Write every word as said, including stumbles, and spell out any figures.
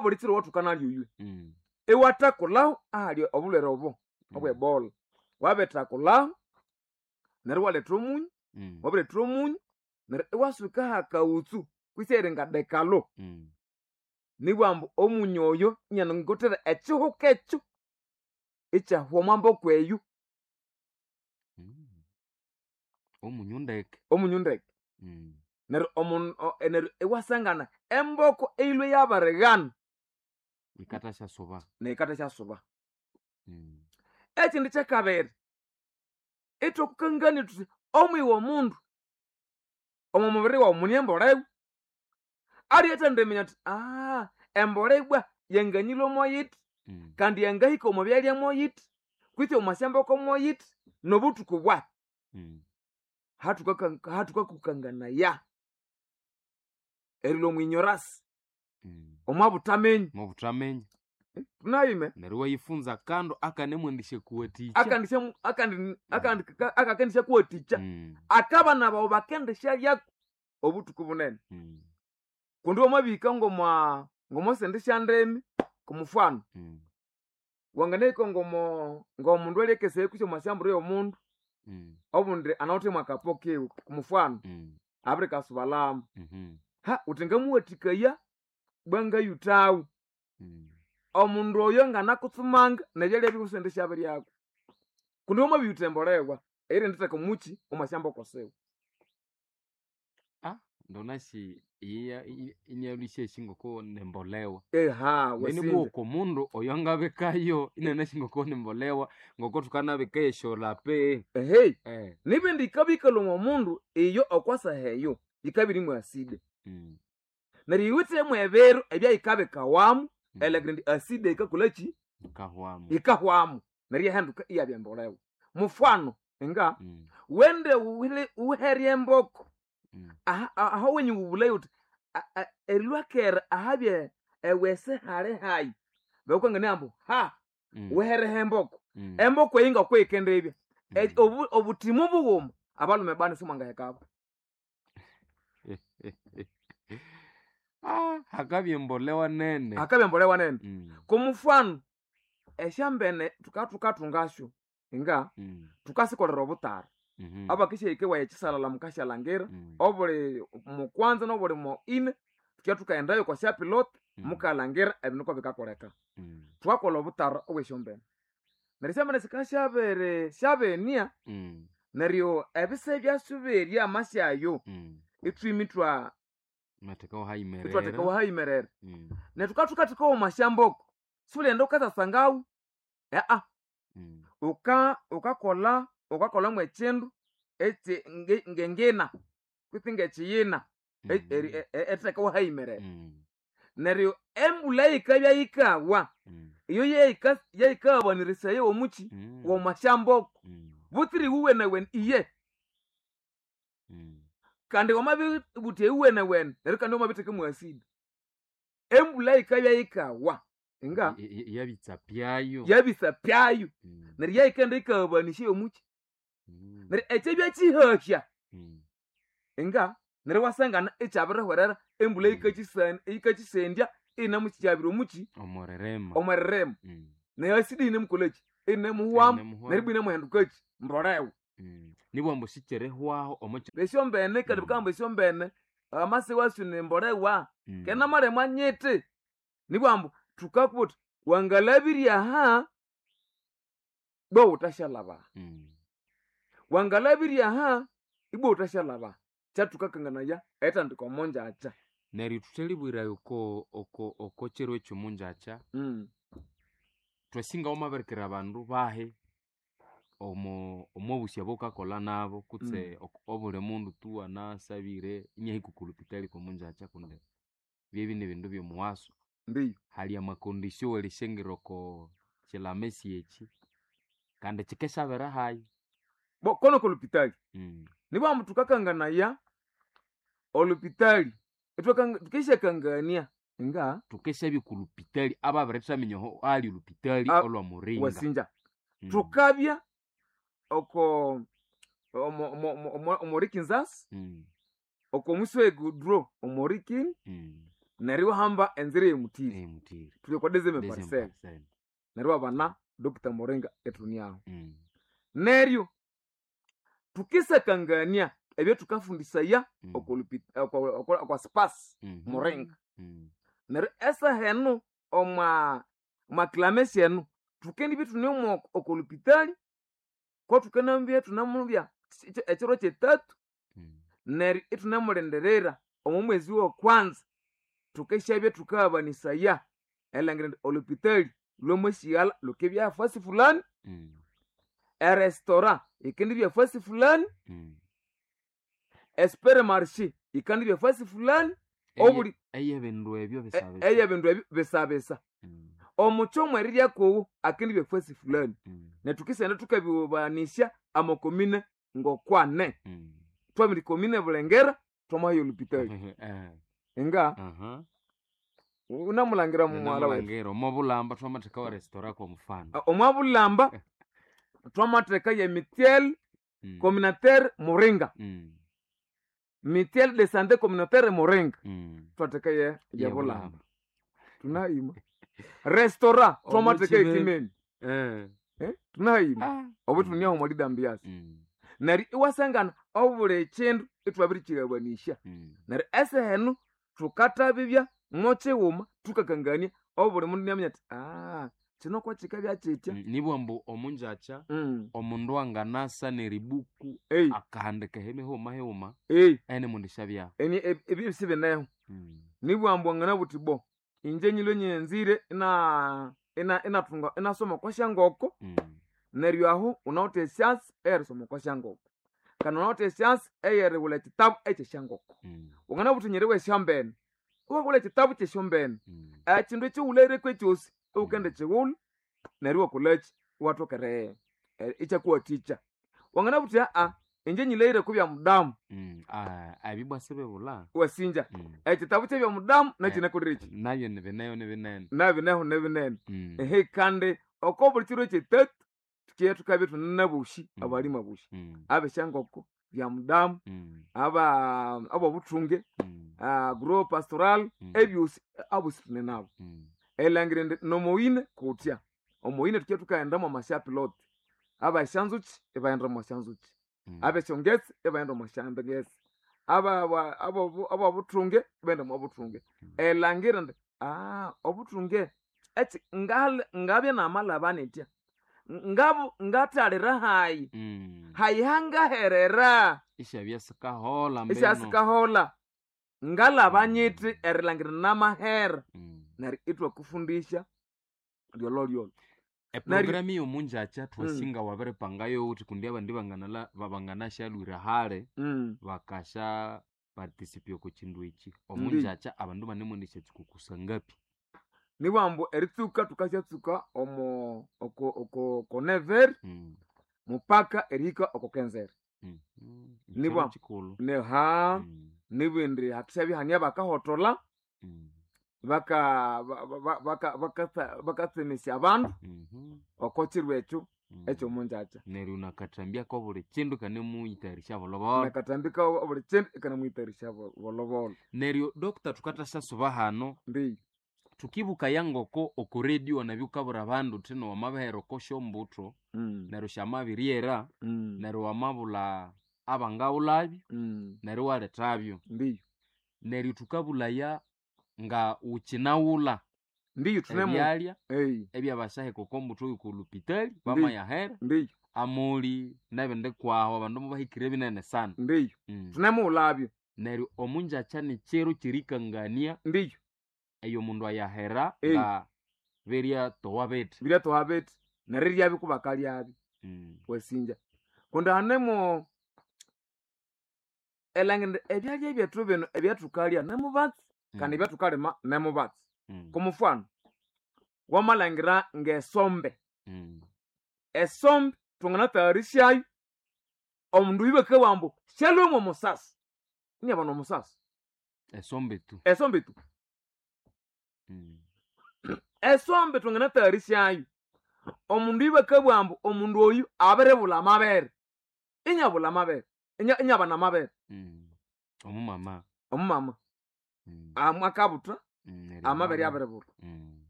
Buli kiro wathukanalya oywe Mm. iwathakulhaho ahali obulhwere obo Mm. obwebola wabithakulhaho neryo iwaletha omunyu Mm. wabiretha omunyu neryo iwasuka hakawutsu kwisi eringa dekalo Mm. nibwambu omunyu oyo inyanangothera ekihuka ekyo ikyahwa omwamboko eyo Mm. Omunyu ndeke. Omunyu ndeke. Mm. Neryo omun- o- neryo iwasangana emboko eyilwe yabirighana Ikathasya-suba. neyikathasyasuba. Mm. Ekindi kyakabiri ithwakukangania thuthi omwiwe omundu omo mubiri wawu mune embolewa aliye athendiminya athi aa embolha ibwa yanganyilwe moyithi Mm. kandi yangahika omo byalya moyithi kwitsi omo syamboko moyithi nobuthuku bwahi. Mm. Hathukaka- hathukakukanganaya erilwa omwinyorasi Mm. omwabuthamenyi Mobuthamenyi. tunayime Neryo iwayifunza akandu akanemwendisya kuwathikya. akandisya akandi akandi akakendisya kuwathikya Mm. akabana bawu bakendisyalyako obuthuku bunene. Mm. Kundi wamabihika ngomwa ngomwasente syandemi kumufano Mm. wanganahika ngomo ngomundu alyakesaya kwisi omwasyamburu yomundu Mm. obundi anawithe mwakapo kiwe kumufano Mm. abirikasubalhamu Mhm. ha wuthi ngamuwathikaya bwangayuthawu Mm. omundu oyo nganakutsumanga nebyalya biwe sente syabiryako kundi wamabiyutha embolewa eyirinditheka omuki omwasyamboko siwe. Ah, ndonasi iya inyalwisya ngoko nembolewa. Eha Nene wasinja bwoko omundu oyo angabikayo inanasi ngoko nembolewa ngoko thukanabika esyolape. Ehe Eh. nibindi yikabya omwa mundu iyo okwasaha eyo yikabya irimu aside. Mm. Neryo yiwithemu ebiru ebyayikabikawamu Mm. erilhangira indi aside yikakolhaki Ikahwamu. yikahwamu neryo iyahinduka iyabya embolewa. Mufano nga Mm. wende wuhile- wuhere emboko Mm. aha aho wenyu wubulayo wuthi a- a- erilwakera ahabye ewese hali hayi bakukangania ambu ha Mm. wuhereho emboko. Mm. Emboko eyi ngokuyikendibya E- Mm. obu- obuthimu bughuma abalhume bani simwangahekabo. Ah, hakabya embolewa nene. Hakabya embolewa nene. Mm. Komufano esyambene thuka thukathungasyo nga Mm. thukasikolera obutara. Mhm. Abakisyahika ewaya ekisalala mukasyalangira Mm. obuli mukwanza nobuli mo ine thukya thukaghendayo okwa syapilot Mm. mukalhangira ebindu ngokubikakoleka. Mm. Thukakolha obutara obwesyombene. Neryo esyombene sikasyabiri syabenia Mm. neryo ebise byasyo berya amasyayo Mm. ithwimi ithwa Imathekawo hayimerera. ithwathekawo hayimerera. Mm. Neryo thuka thukathekawo omwasyamboko siwulighenda wukatsasangawu aa Mm. wuka wukakolha wukakolha mwekindu ekyi nge- ngengina kwitsi ngekiyina e- eri- Mm. e- e- erithekawo hayimerera. Mm. Neryo embulha yikabya yikawa Mm. iyo yeyika yeyikaghabanirisaya omuki Mm. womwasyamboko Mm. butsira iwuwenewene iye. Mm. Kandi wamabibutha iwuwenewene neryo kandi wamabitheka mwasidi. Embulha yikabya yikawa nga I- i- Yabitsa pyayo. yabisa pyayo Mm. neryo yayikaghenda yikaghabanisya omuki Mm. neryo ekyabya kyihahya Mm. nga neryo iwasangana ikyabirihwerera embulha Mm. yikakyisa yikakyisendya inamukyabira omuki Omwererema. omwererema. Mm. Neryo asidi yinemukolhaki inemuhwamu Inemuhwamu. neryo ibwa inemuhendukaki mbolewa. Mm. Nibwambu sikyerihwaho omo Esyombene kandi Mm. bukahamba esyombene amase wasyo nembolewa Mm. kena malemu anyiti nibwambu thukakubwira thuthi wangalabirya aha ibwa wuthasyalhaba. Mm. Wangalabirya aha ibwa wuthasyalhaba. Kyathukakanganaya eritandika omongyakya. Neryo thuthalibwira oko oko oko kiro ekyomungyakya Mm. thwasinga wamabirikira abandu bahi omo omwabusya obukakolha nabo kutse Mm. ok- obuli mundu tu anasabire inahika okolupitali komungyakya kundi byebyo nibindu byomuwaso. Ndiyo. Hali amakondisyo werisyangira oko kilamesi eki kandi kikesabira hayi. Bo kono kolupitali Mm. nibwambu thukakanganaya olupitali ithwakanga thukisyakangania nga Thukesyabya okolupitali ababirithaminya aho ali olupitali A- olwa Muringa. wasinja. Mm. Thukabya oko omo omo omo omorikinzasi Mm. oko muswegudro omorikini Mm. Neryo iwahamba enzira ey'omutiri Emutiri. tuli okwa deuxième Deuxième parcelle parcelle. neryo iwabana Doctor Muringa ithuniaho. Mm. Neryo tukisakangania ebyathukafundisaya Mm. okwa space Mhm. Muringa. Mm. Neryo esaha eno omwa omwa clamesi eno thukendibya ithune omo oko lupitali ko thukanabya ithunamubya ekiro kyetatu. Mm. Neryo ithunemulindirira omo mwezi wokwanza thukasyabya thukaghabanisaya erilhangira indi olupitali lwamasyighalla lukibya fasi fulani, Mm. erestora yikendibya fasi fulani, Mm. esupermarché yikandibya fasi fulani, Eye- obuli eyebindu ebyo e- bisabisa. eyebindu ebyo bisabisa. Mm. Omukyoma omwe eriryakowo akendibya fasi fulani. Mm. Nethu thukisenda thukabibanisya amakomine ngokwane. Mm. Twabiri komine Bulengera twamahaya olupitali. Eh, Inga aha. unamulangira mumwala wetu. Ninamulangira omwabulamba twamatheka wa restaurant kwa mfano. Omwabulamba twamatheka ye mutuelle Mm. communautaire Muringa. Mm. Mutuelle de santé communautaire Muringa. Mm. Twatheka ye ye Ye Bulamba. Bulamba. Tunahima. Restaurant twamatheka Omuchime- ekimeni. Eh. Eh? Tunahima. Ah. Obo tuniaho omwa lidambiasi. Mm. Neryo iwasangana obuli kindu ithwabirikyigabanisya. Mm. Neryo esaha eno thukathabibya mokyighuma thukakangania obuli mundu inaminya athi ah kino kwakikabya kyitya. Mm. Nibwa ambu omunjakya Mm. omundu anganasa neribuku Ei, akahandika hemighuma highuma ei, ene mundu syabyaho. eni ebyo sibineho. Mm. Nibwa ambu wanganabugha wuthi bo inje nyilwe nyanzire ina ina inathunga inasoma okwa syangoko. Mm. Neryo aho wunawithe esyansi eyerisoma okwa syangoko. Kandi wunawithe esyansi eyerighulha ekyitabu ekyesyangoko. Mm. Wanganabugha wuthi nyeriwa esyombene, iwaghulha ekyitabu kyesyombene. Mm. Ekyindu ekyighulhereko ekyosi iwukendikighulha neryo iwakolhaki iwathoka eri ikyakuwathikya. Wanganabugha wuthi aa inje nyilhaghire okwa mudamu. Mm. Ah, ebyo sibibulha. Wasinja Mm. ekyitabu kyebya mudamu Eh. nakyinakolireki Nabyo nibineho nibinene. nabineho nibinene. Mm. Ehe kandi oko buli kiro kyetatu thukiye thukabya ithune nabosi Mm. abalimu abosi Mm. abesyangoko bya mudamu Mm. aba abobuthunge Mm. uh, groupe pastoral Mm. ebyosi abosi thune nabo. Mm. Erilhangira indi nomoyine kutya omoyine thukiye thukaghenda mwamasyapilote abesyanzukyi ibaghenda omwa syanzukyi, Mm. abesyongetse ibaghenda omwa syangetse, aba- abo- abobuthunge ibaghenda omwa buthunge. Mm. Erilhangira indi ah obuthunge ekyi ngal- ngabya namalhaba nithya ngabu ngathalira hayi Mm. hayi hangaherera Isyabya sikahola mbino. isyasikahola ngalhaba Mm. nyithi erilhangira namahera. Mm. Neryo ithwakufundisya lyolholyolho. Eprogramu yomunjakya twasinga wabiripangayo wuthi kundi abandi banganala banganashalwira hali Mm. bakasha participate oko kindu eki. Omunjakya abandu banemwendesya tsikuku sangapi? Nibugha ambu eritsuka thukasyatsuka omo oko oko oko neveri Mm. mupaka erihika oko kenzeri. Mm. Mm. Nibwa Ekiro kikulhu. neha Mm. nibindi hathusabya hania bakahotolha Mm. baka baka baka bakatsemesya abandu Mhm. oko kiro ekyo Mm. ekyomunjakya. Neryo nakathambya buli kindu kanemuyitayarisya bolhobolho. Nakatambika obuli kindu ikanamuyitayarisya bolhobolho. Neryo doctor thukathasya hano Mbi thukibukaya ngoko oko radio nabyo wukabwira abandu wuthino wamabihera oko syombutho Mm. neryo syamabiryera Mm. neryo wamabulha abangaghulhabyo Mm. neryo iwalethabyo. Ndiyo. Neryo thukabulhaya nga wukyinaghulha Ndiyo thunemu ebyalya ei ebyabasaheka oko mbutho yoko lupitali bamayahera ndiyo amuli nebindi kwahu abandu mubahikire binene sana. ndiyo Mm. thunemughulhabyo. Neryo omunjakya nikyiro kyerikangania Ndiyo eyo omundu ayahera Ei. nga biryatowa bithi. biryatowa bithi neriryabyo kubakalyabyo. Mm. Wasinja kundi hanemo erilhangira indi ebyalya byethu bino ebyathukalya nemubatsi kandi Mm. ebyathukalima nemubatsi. Mm. Kumufano wamalhangira ngesombe, Mm. esombe thwanganatayarisyayo omundu oyu bakabugha ambu syalhwemu omusasi inabana omusasi. Esombe tu. Esombe tu. Mm. Esombe thwanganatayarisyayo omundu oyu bakabugha ambu omundu oyu abiribulha amabere inyabulha amabere inya- inyabana amabere. Mm. Omumama. Omumama Mm. amwakabutha Mm, neryo Amabere amabere- abiributa. Mm.